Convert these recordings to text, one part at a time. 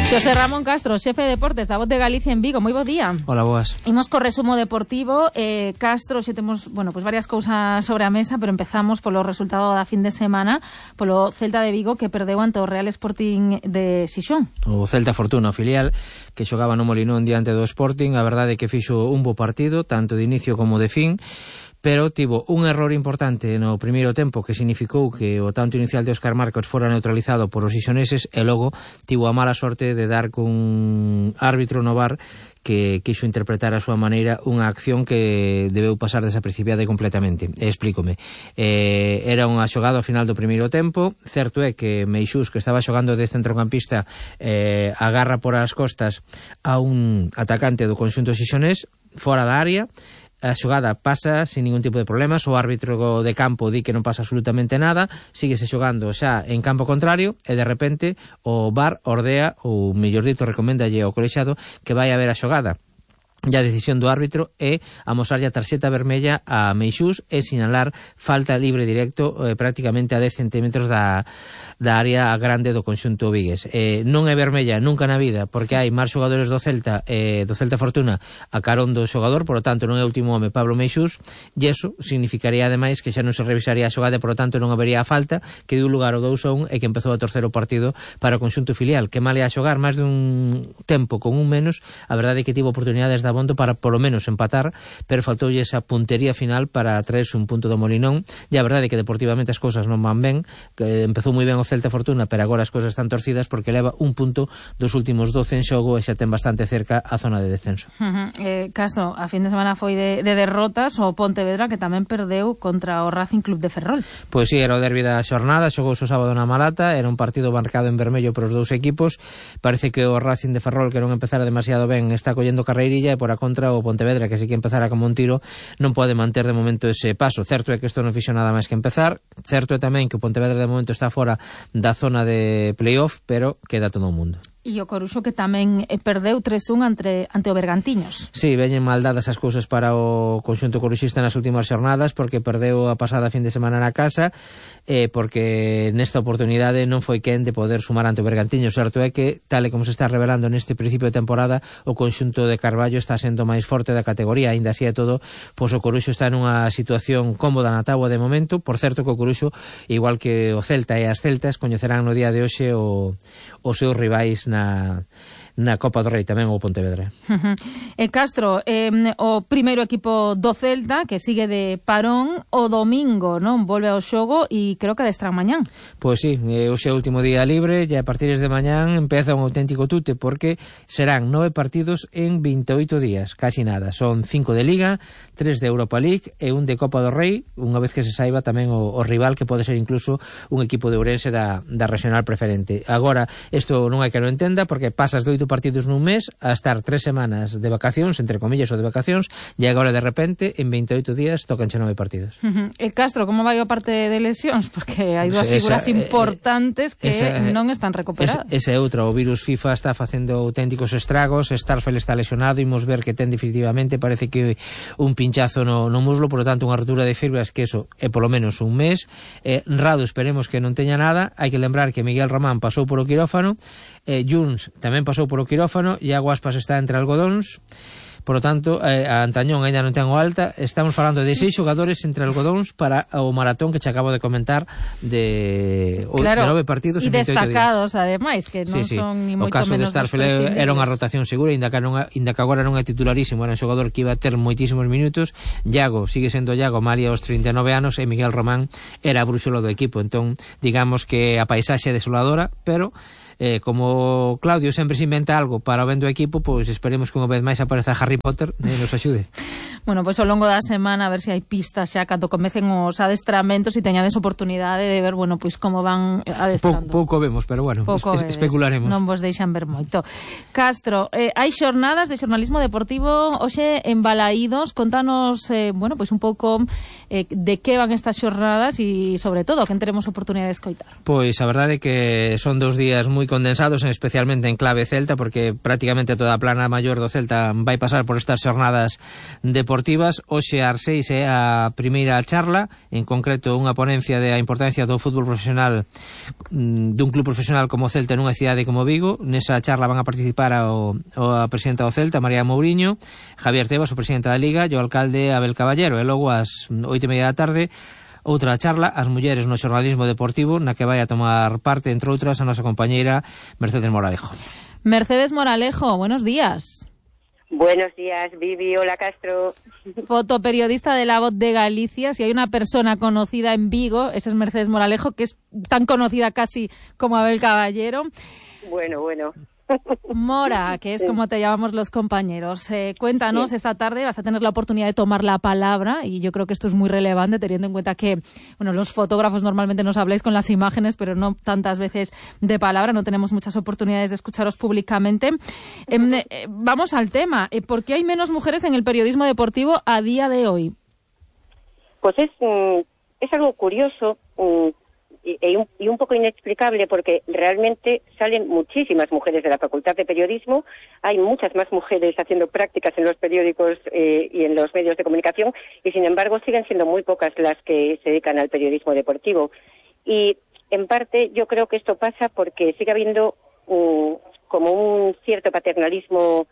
Xosé Ramón Castro, xefe de deportes da Voz de Galicia en Vigo. Moi bo día. Hola, boas. Imos co resumo deportivo. Castro, xe temos, pues varias cousas sobre a mesa, pero empezamos polo resultado da fin de semana, polo Celta de Vigo que perdeu ante o Real Sporting de Xixón. O Celta Fortuna, o filial, que xogaba no Molinón diante do Sporting, a verdade é que fixo un bo partido, tanto de inicio como de fin, pero tivo un error importante no primeiro tempo que significou que o tanto inicial de Óscar Marcos fora neutralizado por os xixoneses e logo tivo a mala sorte de dar cun árbitro no VAR que quixo interpretar a súa maneira unha acción que debeu pasar desapercibida completamente. Explícome. Era unha xogada ao final do primeiro tempo. Certo é que Meixús, que estaba xogando de centrocampista, agarra por as costas a un atacante do conxunto xixonés fora da área. A xogada pasa sin ningún tipo de problemas, o árbitro de campo di que non pasa absolutamente nada, síguese xogando xa en campo contrario e de repente o VAR ordea, ou mellor dito recoméndalle ao colexiado que vai a ver a xogada. E a decisión do árbitro é amosarlle a tarxeta vermella a Meixús e sinalar falta libre directo prácticamente a 10 centímetros da área grande do conxunto vigués. Non é vermella nunca na vida porque hai máis xogadores do Celta Fortuna a carón do xogador, por lo tanto non é o último home Pablo Meixús, e iso significaría ademais que xa non se revisaría a xogada, por lo tanto non habería a falta, que deu lugar ao 2-1 e que empezou a terceiro partido para o conxunto filial, que mal ia a xogar máis dun tempo con un menos. A verdade é que tivo oportunidades da Bondo para polo menos empatar, pero faltoulle esa puntería final para traerse un punto do Molinón, e a verdade é que deportivamente as cousas non van ben, que empezou moi ben o Celta Fortuna, pero agora as cousas están torcidas porque leva un punto dos últimos 12 en xogo e xa ten bastante cerca a zona de descenso. Castro, a fin de semana foi de derrotas o Pontevedra, que tamén perdeu contra o Racing Club de Ferrol. Pois sí, era o derbi da xornada, xogouse o sábado na Malata, era un partido marcado en vermello por os dous equipos. Parece que o Racing de Ferrol, que non empezara demasiado ben, está collendo carreirilla, e por a contra o Pontevedra, que sí que empezara como un tiro, non pode manter de momento ese paso. Certo é que isto non fixo nada máis que empezar, certo é tamén que o Pontevedra de momento está fora da zona de playoff, pero queda todo o mundo. E o Coruxo, que tamén perdeu 3-1 ante o Bergantiños. Sí, veñen mal dadas as cousas para o conxunto coruxista nas últimas xornadas, porque perdeu a pasada fin de semana na casa, porque nesta oportunidade non foi quen de poder sumar ante o Bergantiños. Certo é que, tal e como se está revelando neste principio de temporada, o conxunto de Carballo está sendo máis forte da categoría. Ainda así e todo, pois o Coruxo está nunha situación cómoda na táboa de momento. Por certo que o Coruxo, igual que o Celta e as Celtas, coñecerán no día de hoxe os seus rivais na Copa do Rei, tamén o Pontevedra. Castro, o primeiro equipo do Celta, que sigue de parón, o domingo, non? Volve ao xogo e creo que adestran mañán. Pois sí, hoxe é o último día libre e a partir de mañán empeza un auténtico tute, porque serán 9 partidos en 28 días, casi nada. Son 5 de Liga, 3 de Europa League e un de Copa do Rei, unha vez que se saiba tamén o rival, que pode ser incluso un equipo de Ourense da regional preferente. Agora, isto non hai que non entenda, porque pasas de 8 partidos nun mes a estar 3 semanas de vacacións, entre comillas, ou de vacacións, e agora de repente en 28 días tócanche 9 partidos. Castro, como vai a parte de lesións? Porque hai dúas figuras importantes que non están recuperadas. Esa é outra, o virus FIFA está facendo auténticos estragos. Starfel está lesionado, imos ver que ten definitivamente, parece que un pinchazo no muslo, por lo tanto unha rotura de fibras, que eso é polo menos un mes. Rado esperemos que non teña nada. Hai que lembrar que Miguel Román pasou por o quirófano, Junts tamén pasou por o quirófano, e Aguaspas está entre algodóns. Por lo tanto, a Antañón ainda non ten o alta. Estamos falando de 6 xogadores entre algodóns para o maratón que che acabo de comentar de 9 partidos en 28 días. E destacados, ademais, que non son ni moito menos. O caso de Starfel era unha rotación segura, inda que agora non é titularísimo, era un xogador que iba a ter moitísimos minutos. Iago, sigue sendo Iago, malia aos 39 anos, e Miguel Román era a brúxola do equipo. Entón, digamos que a paisaxe é desoladora, pero como Claudio sempre se inventa algo para o ben do equipo, pois esperemos que unha vez máis apareza Harry Potter e nos axude. Bueno, pois ao longo da semana a ver se hai pistas xa cando comecen os adestramentos e teñades oportunidade de ver, bueno, pois como van adestrando. Pouco vemos, pero bueno, especularemos. Non vos deixan ver moito. Castro, hai xornadas de xornalismo deportivo hoxe en Balaídos. Contanos, bueno, pois un pouco de que van estas xornadas e, sobre todo, que teremos oportunidade de escoitar. Pois a verdade é que son 2 días moi moi condensados, especialmente en clave Celta, porque prácticamente toda a plana maior do Celta vai pasar por estas xornadas deportivas. Hoxe ás 6 é a primeira charla, en concreto unha ponencia de a importancia do fútbol profesional dun club profesional como Celta nunha cidade como Vigo. Nesa charla van a participar a presidenta do Celta, María Mouriño, Javier Tebas, o presidente da Liga, e o alcalde Abel Caballero. E logo ás 8:30 da tarde outra charla, as mulleres no xornalismo deportivo, na que vai a tomar parte, entre outras, a nosa compañeira Mercedes Moralejo. Mercedes Moralejo, buenos días. Buenos días, Vivi. Hola, Castro. Fotoperiodista de La Voz de Galicia. Si hay una persona conocida en Vigo, esa es Mercedes Moralejo, que es tan conocida casi como Abel Caballero. Bueno. Mora, que es como te llamamos los compañeros. Cuéntanos, esta tarde vas a tener la oportunidad de tomar la palabra, y yo creo que esto es muy relevante teniendo en cuenta que, bueno, los fotógrafos normalmente nos habláis con las imágenes, pero no tantas veces de palabra, no tenemos muchas oportunidades de escucharos públicamente. Vamos al tema. ¿Por qué hay menos mujeres en el periodismo deportivo a día de hoy? Pues es algo curioso y un poco inexplicable, porque realmente salen muchísimas mujeres de la Facultad de Periodismo, hay muchas más mujeres haciendo prácticas en los periódicos y en los medios de comunicación, y sin embargo siguen siendo muy pocas las que se dedican al periodismo deportivo. Y en parte yo creo que esto pasa porque sigue habiendo como un cierto paternalismo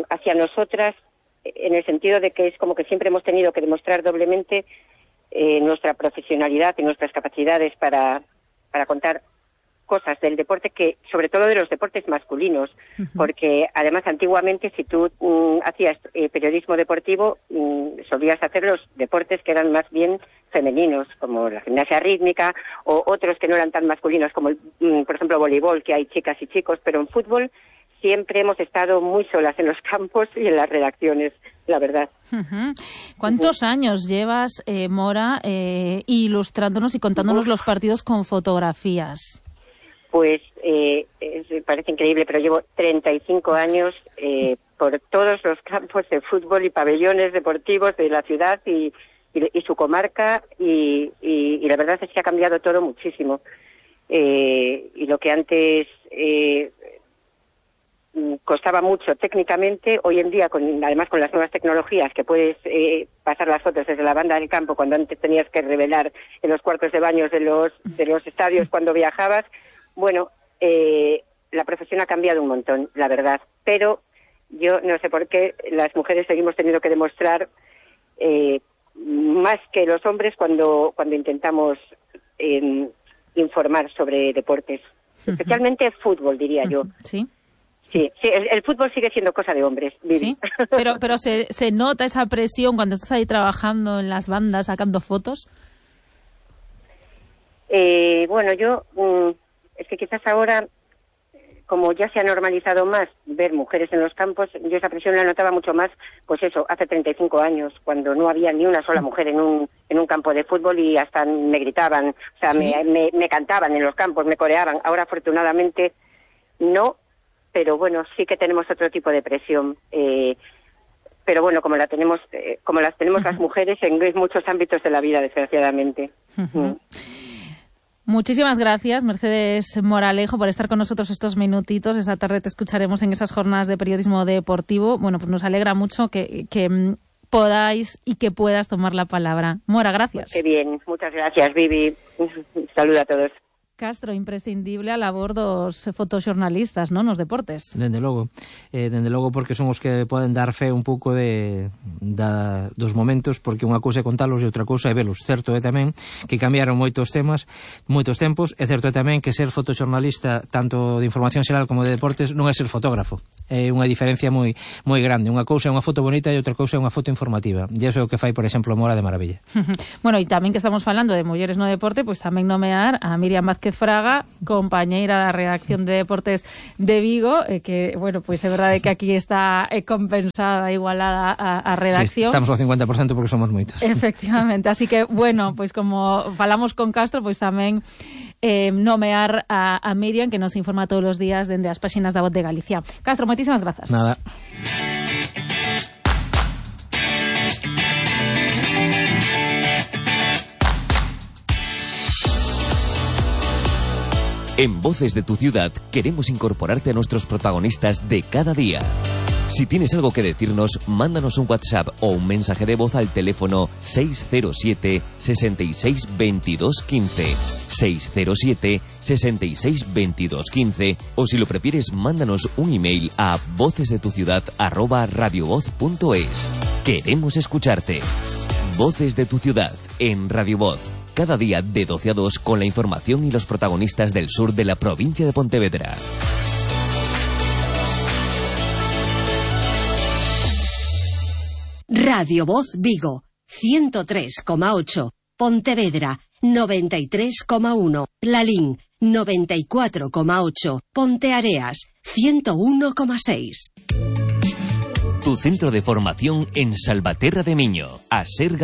hacia nosotras, en el sentido de que es como que siempre hemos tenido que demostrar doblemente nuestra profesionalidad y nuestras capacidades para contar cosas del deporte, que sobre todo de los deportes masculinos, porque además antiguamente si tú hacías periodismo deportivo solías hacer los deportes que eran más bien femeninos, como la gimnasia rítmica, o otros que no eran tan masculinos, como por ejemplo voleibol, que hay chicas y chicos, pero en fútbol siempre hemos estado muy solas en los campos y en las redacciones, la verdad. ¿Cuántos años llevas, Mora, ilustrándonos y contándonos los partidos con fotografías? Pues parece increíble, pero llevo 35 años por todos los campos de fútbol y pabellones deportivos de la ciudad y su comarca, y la verdad es que ha cambiado todo muchísimo. Y lo que antes costaba mucho técnicamente, hoy en día, además con las nuevas tecnologías, que puedes pasar las fotos desde la banda del campo, cuando antes tenías que revelar en los cuartos de baños de los estadios cuando viajabas. Bueno, la profesión ha cambiado un montón, la verdad, pero yo no sé por qué las mujeres seguimos teniendo que demostrar más que los hombres cuando intentamos informar sobre deportes, especialmente fútbol, diría yo. Sí. Sí, el fútbol sigue siendo cosa de hombres, Vivi. Sí, pero se nota esa presión cuando estás ahí trabajando en las bandas, sacando fotos. Bueno, yo es que quizás ahora, como ya se ha normalizado más ver mujeres en los campos, yo esa presión la notaba mucho más, pues eso, hace 35 años, cuando no había ni una sola mujer en un campo de fútbol, y hasta me gritaban, o sea, ¿sí? me cantaban en los campos, me coreaban. Ahora, afortunadamente, no. Pero bueno, sí que tenemos otro tipo de presión. Pero bueno, como las tenemos las mujeres en muchos ámbitos de la vida, desgraciadamente. Muchísimas gracias, Mercedes Moralejo, por estar con nosotros estos minutitos. Esta tarde te escucharemos en esas jornadas de periodismo deportivo. Bueno, pues nos alegra mucho que podáis y que puedas tomar la palabra. Mora, gracias. Qué bien, muchas gracias, Vivi. Saludos a todos. Castro, imprescindible a labor dos fotoxornalistas, non, nos deportes. Dende logo, porque son os que poden dar fe un pouco dos momentos, porque unha cousa é contalos e outra cousa é velos. Certo é tamén que cambiaron moitos tempos, é certo é tamén que ser fotoxornalista tanto de información xeral como de deportes non é ser fotógrafo. É unha diferencia moi moi grande. Unha cousa é unha foto bonita e outra cousa é unha foto informativa. E iso é o que fai, por exemplo, Mora de maravilla. Bueno, e tamén que estamos falando de mulleres no deporte, pois tamén nomear a Miriam Vázquez Fraga, compañeira da redacción de Deportes de Vigo, que, bueno, pois é verdade que aquí está compensada, igualada a redacción. Sí, estamos ao 50% porque somos moitos. Efectivamente, así que, bueno, pois como falamos con Castro, pois tamén nomear a Miriam, que nos informa todos os días dende as páxinas da Voz de Galicia. Castro, moitísimas grazas. Nada. En Voces de tu Ciudad queremos incorporarte a nuestros protagonistas de cada día. Si tienes algo que decirnos, mándanos un WhatsApp o un mensaje de voz al teléfono 607 66 22 15, 607 66 22 15, o si lo prefieres, mándanos un email a vocesdetuciudad@radiovoz.es. Queremos escucharte. Voces de tu Ciudad en Radio Voz. Cada día de 12 a 2 con la información y los protagonistas del sur de la provincia de Pontevedra. Radio Voz Vigo, 103,8. Pontevedra, 93,1. Lalín, 94,8. Ponteareas, 101,6. Tu centro de formación en Salvaterra de Miño. A ser